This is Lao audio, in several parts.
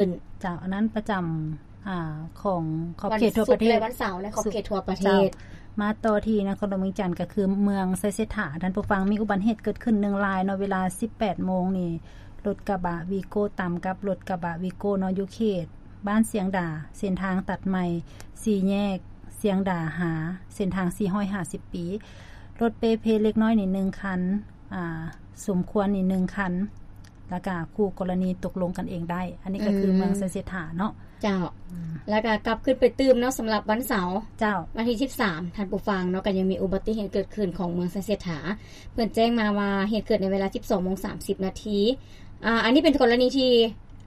ເຈົ້າ ອັນນັ້ນປະຈຳ ອາ ຂອງຂອບເຂດທົ່ວປະເທດ ວັນສຸກ ແລະ ວັນເສົາໃນຂອບເຂດທົ່ວປະເທດ. ເຈົ້າ ມາຕໍ່ທີ່ນະຄອນຫຼວງວຽງຈັນ ກໍຄືເມືອງໄຊເສດຖາ ທ່ານຜູ້ຟັງ ມີອຸບັດເຫດເກີດຂຶ້ນໜຶ່ງລາຍເນາະ ເວລາສິບແປດໂມງນີ້ ລົດກະບະວີໂກ້ຕຳກັບລົດກະບະວີໂກ້ເນາະ ຢູ່ເຂດບ້ານຊຽງດາ ເສັ້ນທາງຕັດໃໝ່ ສີ່ແຍກຊຽງດາ ຫາເສັ້ນທາງສີ່ຮ້ອຍຫ້າສິບປີ ລົດເປ່ເພເລັກນ້ອຍນີ້ໜຶ່ງຄັນ ອາ ສົມຄວນນີ້ໜຶ່ງຄັນ ແລ້ວກະຄູ່ກໍລະນີຕົກລົງກັນເອງໄດ້. ອັນນີ້ກໍຄືເມືອງໄຊເສດຖາເນາະ. ເຈົ້າ ອືມ ແລ້ວກໍກັບຂຶ້ນໄປຕື່ມເນາະ ສຳລັບວັນເສົາ ເຈົ້າ ວັນທີສິບສາມ ທ່ານຜູ້ຟັງເນາະ ກໍຍັງມີອຸບັດຕິເຫດເກີດຂຶ້ນຂອງເມືອງໄຊເສດຖາ. ເພິ່ນແຈ້ງມາວ່າເຫດເກີດໃນເວລາສິບສອງໂມງສາມສິບນາທີ. ອາ ອັນນີ້ເປັນກໍລະນີທີ່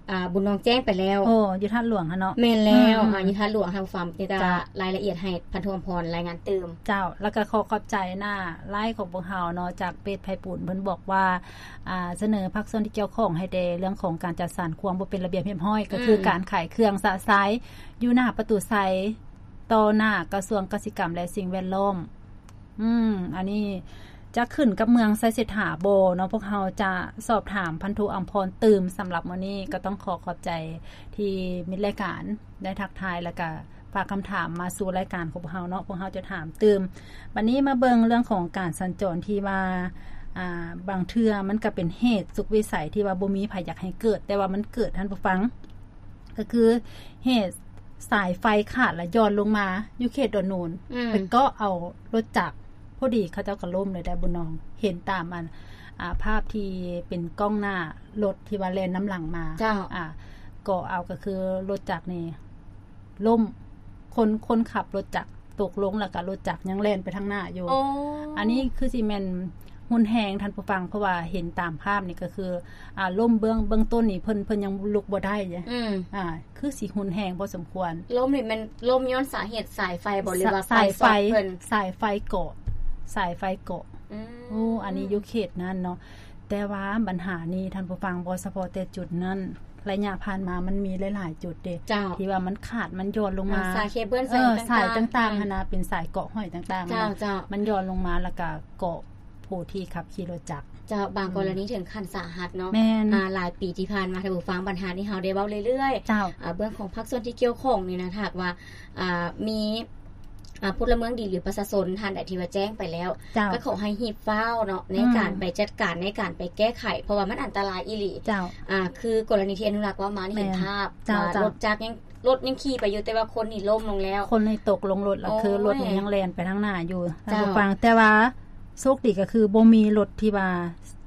ອາ ບຸນນອງແຈ້ງໄປແລ້ວ. ໂອ້ ຢູ່ທາດຫຼວງຫັ້ນເນາະ. ແມ່ນແລ້ວ. ອືມໆ ອາ ຢູ່ທາດຫຼວງ ທ່ານຜູ້ຟັງ ຈະ ເຈົ້າ ລາຍລະອຽດໃຫ້ພັນໂທອຳພອນລາຍງານຕື່ມ. ເຈົ້າ ແລ້ວກໍຂໍຂອບໃຈໜ້າໄລຂອງພວກເຮົາເນາະ ຈາກເພຈໄພປູນ ເພິ່ນບອກວ່າ ອາ ສະເໜີພາກສ່ວນທີ່ກ່ຽວຂ້ອງໃຫ້ແດ່ເລື່ອງຂອງການຈັດສັນຄວາມບໍ່ເປັນລະບຽບຮຽບຮ້ອຍ ກໍຄື ອືມ ການຂາຍເຄື່ອງຊະຊາຍຢູ່ໜ້າປະຕູໄຊ ຕໍ່ໜ້າກະຊວງກະສິກຳ ແລະ ສິ່ງແວດລ້ອມ. ອືມ ອັນນີ້ຈະຂຶ້ນກັບເມືອງໄຊເສດຖາບໍ່ເນາະ? ພວກເຮົາຈະສອບຖາມພັນໂທອຳພອນຕື່ມ. ສຳລັບມື້ນີ້ກໍຕ້ອງຂໍຂອບໃຈທີ່ມິດລາຍການໄດ້ທັກທາຍ ແລ້ວກະຝາກຄຳຖາມມາສູ່ລາຍການຂອງພວກເຮົາເນາະ, ພວກເຮົາຈະຖາມຕື່ມ. ບັດນີ້ມາເບິ່ງເລື່ອງຂອງການສັນຈອນທີ່ວ່າ ອ່າ ບາງເທື່ອມັນກະເປັນເຫດສຸດວິໄສທີ່ວ່າບໍ່ມີໃຜຢາກໃຫ້ເກີດ, ແຕ່ວ່າມັນເກີດ, ທ່ານຜູ້ຟັງ. ກໍຄືເຫດສາຍໄຟຂາດແລ້ວຢ່ອນລົງມາຢູ່ເຂດດອນໂນນ ອືມ ໄປເກາະເອົາລົດຈັກ ພໍດີເຂົາເຈົ້າກໍລົ້ມເລີຍໄດ໋ ບຸນນອງ. ເຫັນຕາມອັນ ອ່າ ພາບທີ່ເປັນກ້ອງໜ້າລົດທີ່ວ່າແລ່ນນຳຫຼັງມາ ເຈົ້າ ອ່າ ເກາະເອົາ ກໍຄືລົດຈັກນີ້ລົ້ມ ຄົນ ຄົນຂັບລົດຈັກຕົກລົງ ແລ້ວກໍລົດຈັກຍັງແລ່ນໄປທາງໜ້າຢູ່. ໂອ້ ອັນນີ້ຄືຊິແມ່ນ ຮຸນແຮງ ທ່ານຜູ້ຟັງ, ເພາະວ່າເຫັນຕາມພາບນີ້ກໍຄື ອ່າ ລົ້ມເບື້ອງ ເບື້ອງຕົ້ນນີ້ເພິ່ນ ເພິ່ນຍັງລຸກບໍ່ໄດ້. ອືມ ອ່າ ຄືຊິຮຸນແຮງພໍສົມຄວນ. ລົ້ມນີ້ແມ່ນລົ້ມຍ້ອນສາເຫດສາຍໄຟບໍ່ ຫຼືວ່າໄຟຊັອດເພິ່ນ? ສາຍໄຟເກາະ ສາຍໄຟເກາະ. ອືມ ໂອ້ ອັນນີ້ຢູ່ເຂດນັ້ນເນາະ. ແຕ່ວ່າບັນຫານີ້ ທ່ານຜູ້ຟັງ, ບໍ່ສະເພາະແຕ່ຈຸດນັ້ນ, ໄລຍະຜ່ານມາມັນມີຫຼາຍໆຈຸດເດ້ ເຈົ້າ ທີ່ວ່າມັນຂາດ ມັນຢ່ອນລົງມາ. ອ່າ ສາຍເຄເບິ້ນ ເອີ ສາຍຕ່າງໆ ສາຍຕ່າງໆ ຫັ້ນນະ ເປັນສາຍເກາະຫ້ອຍຕ່າງໆ ເຈົ້າ ເຈົ້າ ມັນຢ່ອນລົງມາ ແລ້ວກະເກາະຜູ້ທີ່ຂັບຂີ່ລົດຈັກ. ເຈົ້າ ບາງ ອືມ ກໍລະນີເຖິງຂັ້ນສາຫັດເນາະ. ແມ່ນ ອ່າ ຫຼາຍປີທີ່ຜ່ານມາ ທ່ານຜູ້ຟັງ, ບັນຫານີ້ເຮົາໄດ້ເວົ້າເລື້ອຍໆ. ເຈົ້າ ອ່າ ເບື້ອງຂອງພາກສ່ວນທີ່ກ່ຽວຂ້ອງນີ້ນະ ຖ້າຫາກວ່າ ອ່າ ມີ ອ່າ ພົນລະເມືອງດີ ຫຼື ປະຊາຊົນທ່ານໃດທີ່ວ່າແຈ້ງໄປແລ້ວ ເຈົ້າ ກໍຂໍໃຫ້ຮີບຟ້າວເນາະ ໃນ ອືມ ການໄປຈັດການ ໃນການໄປແກ້ໄຂ ເພາະວ່າມັນອັນຕະລາຍອີ່ຫຼີ. ເຈົ້າ ອ່າ ຄືກໍລະນີທີ່ອະນຸລັກເວົ້າມານີ້ ເຫັນພາບ ແມ່ນ ເຈົ້າ ວ່າ ເຈົ້າ ລົດຈັກຍັງ ລົດຍັງຂີ່ໄປຢູ່ ແຕ່ວ່າຄົນນີ້ລົ້ມລົງແລ້ວ. ຄົນນີ້ຕົກລົງລົດ ແລ້ວຄື ໂອ້ຍ ລົດນີ້ຍັງແລ່ນໄປທາງໜ້າຢູ່ ເຈົ້າ ທ່ານຜູ້ຟັງ. ແຕ່ວ່າໂຊກດີກໍຄືບໍ່ມີລົດທີ່ວ່າ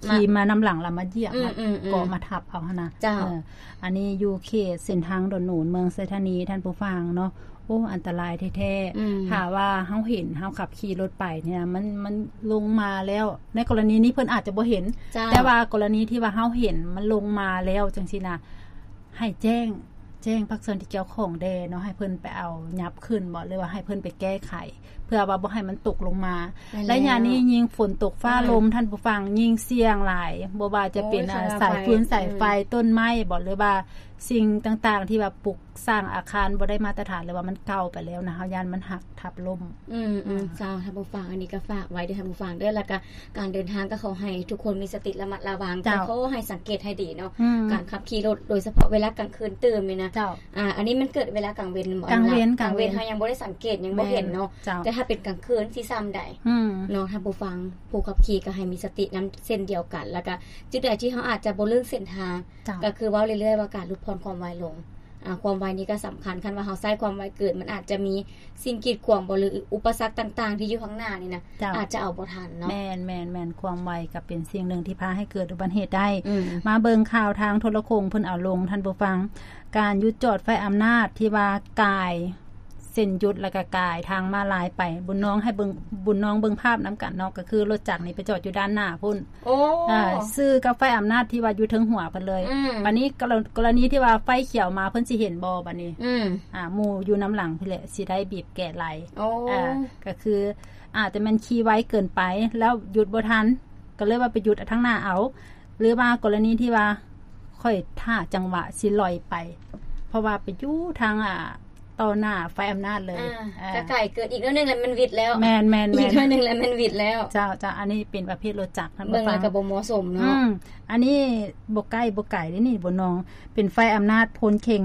ມາ ຂີ່ມານຳຫຼັງ ແລ້ວມາຢຽບ ອືມ ມາ ອືມ ເກາະ ອືມ ມາທັບເອົາຫັ້ນນະ. ເຈົ້າ ເອີ ອັນນີ້ຢູ່ເຂດເສັ້ນທາງດອນໂນນ ເມືອງໄຊທານີ ທ່ານຜູ້ຟັງເນາະ. ໂອ້ ອັນຕະລາຍແທ້ໆ. ອືມ ຖ້າວ່າເຮົາເຫັນ ເຮົາຂັບຂີ່ລົດໄປນີ້ນະ ມັນ ມັນລົງມາແລ້ວ. ໃນກໍລະນີນີ້ເພິ່ນອາດຈະບໍ່ເຫັນ ເຈົ້າ ແຕ່ວ່າກໍລະນີທີ່ວ່າເຮົາເຫັນມັນລົງມາແລ້ວຈັ່ງຊີ້ນະ ໃຫ້ແຈ້ງ ແຈ້ງພາກສ່ວນທີ່ກ່ຽວຂ້ອງແດ່ເນາະ ໃຫ້ເພິ່ນໄປເອົາຍັບຂຶ້ນບໍ ຫຼືວ່າໃຫ້ເພິ່ນໄປແກ້ໄຂ ເພື່ອວ່າບໍ່ໃຫ້ມັນຕົກລົງມາ. ແມ່ນແລ້ວ ໄລຍະນີ້ຍິ່ງຝົນຕົກຟ້າລົມ ໂອ້ຍ ທ່ານຜູ້ຟັງ ຍິ່ງສ່ຽງຫຼາຍ. ບໍ່ວ່າຈະເປັນ ໂອ້ຍ ອ່າ ສາຍຟືນ ສາຍໄຟ ອືມ ຕົ້ນໄມ້ບໍ ຫຼືວ່າສິ່ງຕ່າງໆທີ່ວ່າປຸກສ້າງອາຄານບໍ່ໄດ້ມາດຕະຖານ ຫຼືວ່າມັນເກົ່າໄປແລ້ວນະ ເຮົາຢ້ານມັນຫັກທັບລົ້ມ. ອືມ ອືມ ເຈົ້າ ທ່ານຜູ້ຟັງ ອັນນີ້ກໍຝາກໄວ້ເດີ ທ່ານຜູ້ຟັງເດີ. ແລ້ວກໍການເດີນທາງກໍຂໍໃຫ້ທຸກຄົນມີສະຕິລະມັດລະວັງ ເຈົ້າ ກໍຂໍໃຫ້ສັງເກດໃຫ້ດີເນາະ ອືມ ການຂັບຂີ່ລົດ ໂດຍສະເພາະເວລາກາງຄືນຕື່ມນີ້ນະ. ເຈົ້າ ອ່າ ອັນນີ້ມັນເກີດເວລາກາງເວັນບໍ? ກາງເວັນ ກາງເວັນ ກາງເວັນເຮົາຍັງບໍ່ໄດ້ສັງເກດ ຍັງບໍ່ເຫັນເນາະ. ແມ່ນ ເຈົ້າ ແຕ່ຖ້າເປັນກາງຄືນຊິສ່ຳໃດ? ອືມ ເນາະ ທ່ານຜູ້ຟັງ ຜູ້ຂັບຂີ່ກໍໃຫ້ມີສະຕິນຳເຊັ່ນດຽວກັນ. ແລ້ວກໍຈຸດໃດທີ່ເຮົາອາດຈະບໍ່ເລື່ອງເສັ້ນທາງ ເຈົ້າ ກໍຄືເວົ້າເລື້ອຍໆວ່າການຫຼຸດຜ່ອນຄວາມໄວລົງ. ອ່າ ຄວາມໄວນີ້ກໍສຳຄັນ, ຄັນວ່າເຮົາໃຊ້ຄວາມໄວເກີນ ມັນອາດຈະມີສິ່ງກີດຂວາງບໍ ຫຼື ອຸປະສັກຕ່າງໆທີ່ຢູ່ຂ້າງໜ້ານີ້ນະ ເຈົ້າ ອາດຈະເອົາບໍ່ທັນເນາະ. ແມ່ນໆໆ ຄວາມໄວກໍເປັນສິ່ງໜຶ່ງທີ່ພາໃຫ້ເກີດອຸບັດເຫດໄດ້. ອືມ ມາເບິ່ງຂ່າວທາງໂທລະຄົງເພິ່ນເອົາລົງ ທ່ານຜູ້ຟັງ, ການຢຸດຈອດໄຟອຳນາດທີ່ວ່າກາຍເສັ້ນຢຸດ ແລ້ວກໍກາຍທາງມ້າລາຍໄປ. ບຸນນອງໃຫ້ເບິ່ງ ບຸນນອງເບິ່ງພາບນຳກັນເນາະ, ກໍຄືລົດຈັກນີ້ໄປຈອດຢູ່ດ້ານໜ້າພຸ້ນ. ໂອ້ ອ່າ ຊື່ກັບໄຟອຳນາດທີ່ວ່າຢູ່ເທິງຫົວເພິ່ນເລີຍ. ອືມ ບາດນີ້ກໍລະ ກໍລະນີທີ່ວ່າໄຟຂຽວມາ ເພິ່ນຊິເຫັນບໍ່ບາດນີ້? ອືມ ອ່າ ໝູ່ຢູ່ນຳຫຼັງພຸ້ນແຫຼະ ຊິໄດ້ບີບແກະໄລ່. ໂອ້ ອ່າ ກໍຄືອາດຈະແມ່ນຂີ່ໄວເກີນໄປ ແລ້ວຢຸດບໍ່ທັນ ກໍເລີຍວ່າໄປຢຸດທາງໜ້າເອົາ, ຫຼືວ່າກໍລະນີທີ່ວ່າຂ້ອຍຖ້າຈັງຫວະຊິລອຍໄປ ເພາະວ່າໄປຢູ່ທາງ ອ່າ ຕໍ່ໜ້າໄຟອຳນາດເລີຍ ອ່າ ເອີ ຖ້າໄກເກີນອີກໜ້ອຍໜຶ່ງແລ້ວມັນຫວິດແລ້ວ ແມ່ນໆໆ ອີກໜ້ອຍໜຶ່ງແລ້ວມັນຫວິດແລ້ວ ເຈົ້າໆ ອັນນີ້ເປັນປະເພດລົດຈັກ ທ່ານຜູ້ຟັງ ເບິ່ງແລ້ວກໍບໍ່ເໝາະສົມເນາະ ອືມ ອັນນີ້ບໍ່ໃກ້ບໍ່ໄກເດ້ນີ້ ບໍ່ນອງ ເປັນໄຟອຳນາດພົນເຄັ່ງ